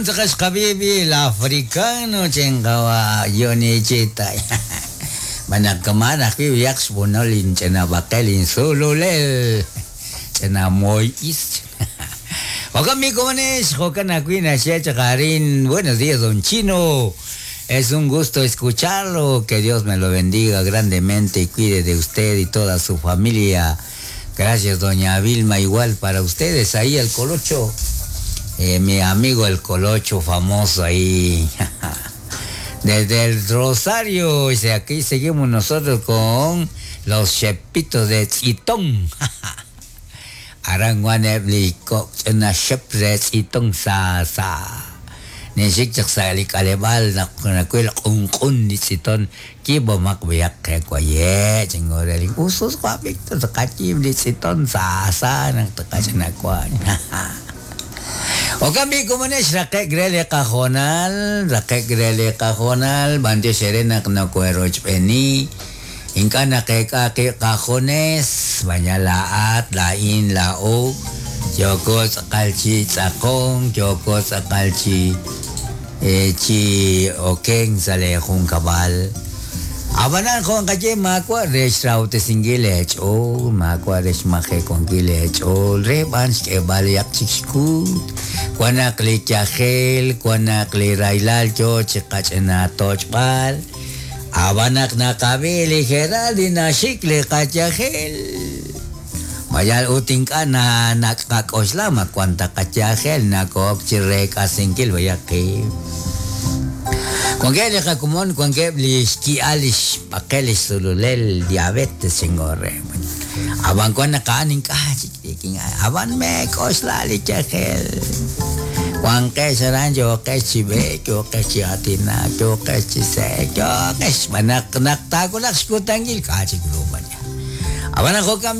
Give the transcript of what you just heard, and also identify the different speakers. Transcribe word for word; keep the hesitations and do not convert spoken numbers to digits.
Speaker 1: Moqon tz'aqal xqab'i el africano chenqawa yonichita. Manaq kamaan ajwi' b'ayaq xb'onol inch'inab'aqel insululel ch'ina moyis. Jo'kan b'i komonex, jo'kan ajwi' naxye chaq arin. Buenos días, don Chino. Es un gusto escucharlo. Que Dios me lo bendiga grandemente y cuide de usted y toda su familia. Gracias, doña Vilma, igual para ustedes. Ahí el Colocho, eh, mi amigo el Colocho famoso ahí. Desde el Rosario, y aquí seguimos nosotros con los shepitos de Tzitón. Aran wan eb li kok' ch'ina xep re Tzitón sa sa. Nixik chaq sa li k'aleb'aal naq nawil q'unq'un li tz'iton kiib'omaq b'ayaq qe waye' chingorel usus wab'ik taqachib li tz'iton sa sa naq taqach'inakuan. Jo'kan b'i komonex, raqe'k re li qajonal, raqe'k re li qajonal, b'antiox eere naq nokoherochb'eeni. Ink'a' naqeek'a qib' qajunes, baña laa'at, laa'in, laa'o, yooko tz'aqal chi tz'aqonk, yooko tz'aqal chi eh, chi okenk sa' li junkab'al. Ab'anan jo' nqaye maawa' re xrawtesinkil eech'ool, maawa' re xmajewankil eech'ool, re b'an xk'eeb'al yaq chik xkuut. Wan naq li yajel, wan naq li rahilal yoo chi qach'ina toch'b'al. Ab'an naq naqab'i li Geraldi naxik li qayajel. Mayal ut ink'a' na naqak'oxla ma wan ta qayajel nakook chi reek'asinkil b'ayaq qib'. Wankeb' li qakomon, wankeb' li xki'al li xb'aqel li xsululel diabetes chingorre. Ab'an wan naq a'an ink'a' chik ab'an meek'oxla li yajel. Wanqex aran yooqex chi b'eek, yooqex chi aatinak, yooqex chi se'ek, yooqex b'an naq naq taawulaq xkutankil k'a' chik ru b'an. Ab'an jo'kan.